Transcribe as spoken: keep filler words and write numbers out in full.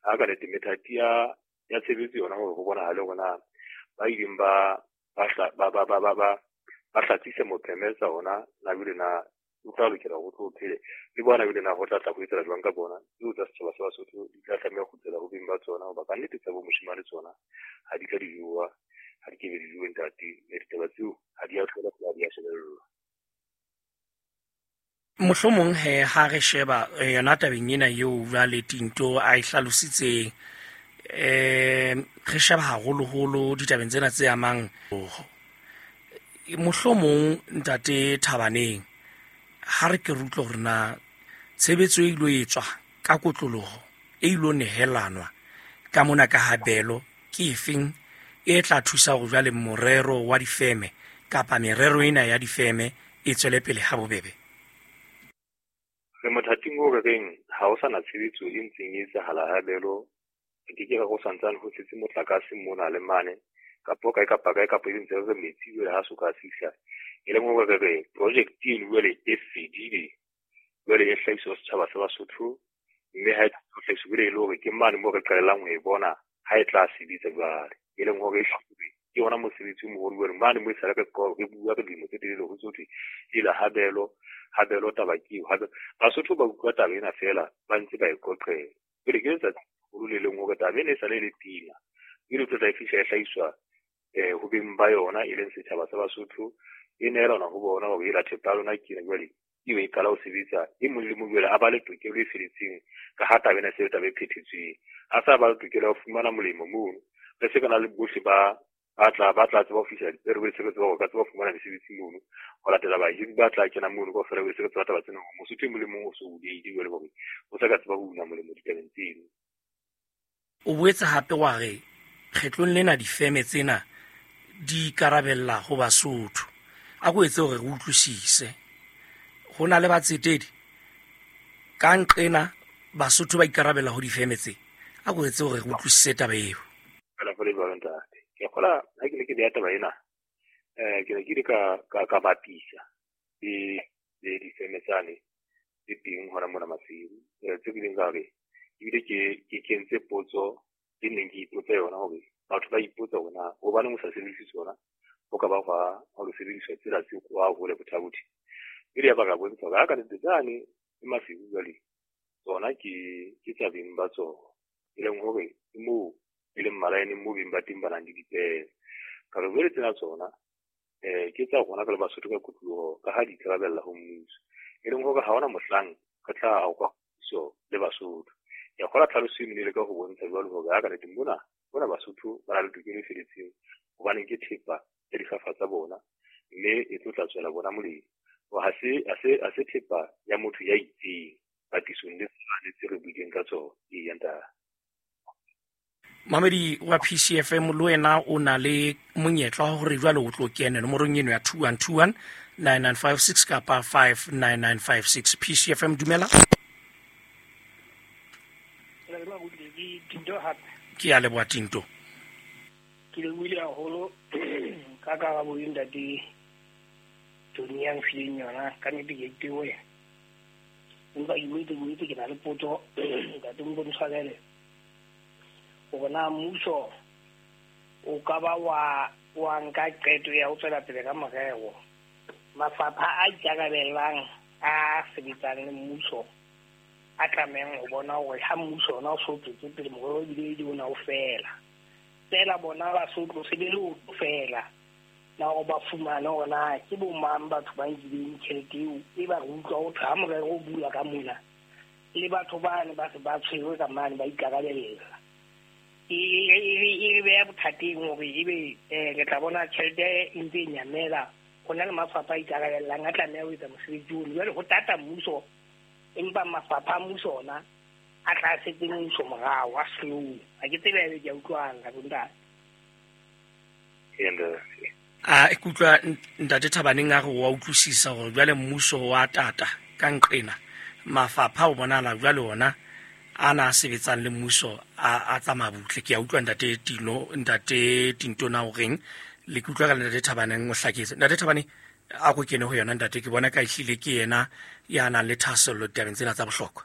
Ha ka nete methati ya ya tshebetso yona hore ho bonahale hore na ba ileng ba ba ba ba ba ba ba ba hlatsise mopheme tsa ona na bile na o tla lokela ho tlo phele le bona bile na ho tla tla ho etsa jwang ka bona tseo tsa setjhaba sa Basotho di tla tlameha ho kgutlela ho beng ba tsona hoba ka nnete tsa bo moshemane tsona ha di ka di jowa ha di ke be di jowe ntate mme ditaba tseo ha di a thola ha di a shebellwa. Mohlomong he ha re sheba yona tabeng ena eo jwale Tinto a e hlalositseng, eh re sheba haholoholo ditabeng tsena tse amang mohlomong ntate Thabaneng, ha re ke re utlwe hore na tshebetso e ilo etswa ka kotloloho e ilo nehelanwa ka mona ka habelo ke efeng e tla thusa hore jwale morero wa difeme kapa merero ena ya difeme e tswele pele ha bobebe. Re mothating o re reng ha ho sana tshebetso e ntseng e etsahala habelo, re ke ke ra ho santsane ho setse motlakase mona le mane kapo kae kapa kae kapa e ntse re metsi jwale ha so ka fihla e leng hore re re project eno jwale e fedile jwale e hlahiswa setjhaba sa Basotho mme ha e hlahiswa jwale e le hore ke mane moo re qalelang ho e bona ha e tla sebetsa jwale e leng hore e ke ona mosebetsi o moholo jwale mane mo e sale re re bua ka dilemo tse telele ho tsothwe ela habelo habelo taba ke eo habelo Basotho ba utlwa taba ena feela ba ntse ba e qoqela jwale ke letsatsi holo le leng hore taba ena e sale e le pina jwale tlo tla e fihla e hlahiswa eh ho beng ba yona e leng setjhaba sa Basotho e neelana ho bona hore e la thepa lona ke ena jwale eo e qala ho sebetsa e mong le mong jwale a ba le tokelo e feletseng ka ha taba ena se taba e phethetsweng a sa ba le tokelo ya ho fumana molemo mono re se kana le bohle ba ba tla ba tla tseba ho fihla dipere se re tseba hore ka tseba ho fumana mesebetsi mono ho latela bahiri ba tla kena mono kaofela se re tseba taba tsena hore Mosotho e mong le mong o so buleile jwale hore o sa ka tseba ho una molemo ditabeng tseno. O boetse hape wa re kgetlong lena difeme tsena di ikarabella ho Basotho. A ko etse hore re utlwisise ho na le batsetedi ka nqena Basotho ba ikarabella ho difeme tse. A ko etse hore re utlwisise taba eo. Fela go le jwalo ntate. Ke kgola ha ke ne ke beha taba ena eh ke ne ke ile ka ka ka bapisa le le difeme tsane tse teng hona mona Maseru tse ke ileng ka re ebile ke ke kentse potso e neng ke ipotsa yona hore batho ba ipotsa hore na hobaneng o sa sebedise tsona ho ka ba hwa ha o sebediswa tsela tse kwa hole bothabothi ile ya ba ka bontsha hore ha ka nnete tsane e Maseru jwale tsona ke ke tsa beng ba tsona e leng hore ke moo e leng malaeneng moo beng ba teng ba nang le dipere ka re jwale tsena tsona eh ke tsa rona ka le Basotho ka kotloloho ka ha di ikarabella ho mmuso e leng hore ha hona mohlang re tla hauka so le Basotho. Ya kgola tlhaloso e le ka ho bontsha jwalo hore ha ka nnete mona mona Basotho ba na le tokelo e feletseng hobane ke thepa ya difafa tsa bona mme e tlo tla tswela bona molemo ha se ha se ha se thepa ya motho ya itseng patisong le tsane tse re buileng ka tsona e ya ntate. Mamedi wa P C F M le wena o na le monyetla wa hore jwale o tlo kene nomorong eno ya two one two one nine nine five six kapa five nine nine five six. P C F M dumela. Ke a leboha Tinto. Ke lebohile haholo ka karabo e ntate Tony ya mfileng yona ka nnete ke itewe. Empa ke boetse boetse ke na le potso ntate mpo ntshwarele hore na mmuso o ka ba wa wa nka qeto ya ho tswela pele ka morero mafapha a ikarabellang a sebetsang le mmuso a tlamehang ho bona hore ha mmuso ona o so tswetse pele morero ebile e ona o fela fela bona ba so tlo se le leoto fela na hore ba fumane hore na ke bo mang batho ba nkileng tjhelete eo e ba re utlwa ho thwe ha morero o bula ka mona le batho bane ba se ba tshwerwe ka mane ba ikarabella e e beha bothateng hore ebe re tla bona tjhelete e ntse e nyamela ho na le mafapha a ikarabellang a tlameha ho etsa mosebetsi ono jwale ho tata mmuso empa mafapha a mmuso ona a tla setse mmuso morao a slow ha ke tsebe ebe ke a utlwana ka bontate. A ke utlwa ntate Thabaneng a re wa utlwisisa hore jwale mmuso wa tata ka nqena mafapha o bonahala jwale ona a na sebetsang le mmuso a a tsamaya butle. Ke a utlwa ntate Tino ntate Tinto na o reng le ke utlwa ka ntate Thabaneng o hlaketse. Ntate Thabane a ko kene ho yona ntate ke bona ka ehlile ke yena ya nang le thahasello ditabeng tsena tsa bohlokwa.